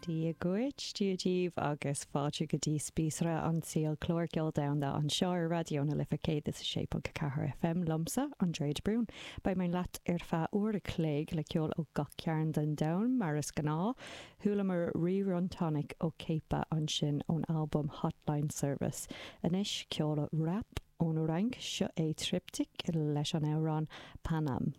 Dia dhuit, Dia daoibh agus fáilte go dtí Spíosra an tSaoil, clár ceoil domhanda anseo ar Raidió na Life 106.4 FM liomsa, Andrea de Brún. Beidh mé leat ar feadh uair a chloig le ceol ó gach cearn den domhan, mar is gnáth. Chualamar Rerun Tonic ó Cepa ansin ón albam Hotline Service. Anois, ceol rap ón Fhrainc, seo é Triptykh leis an amhrán Paname.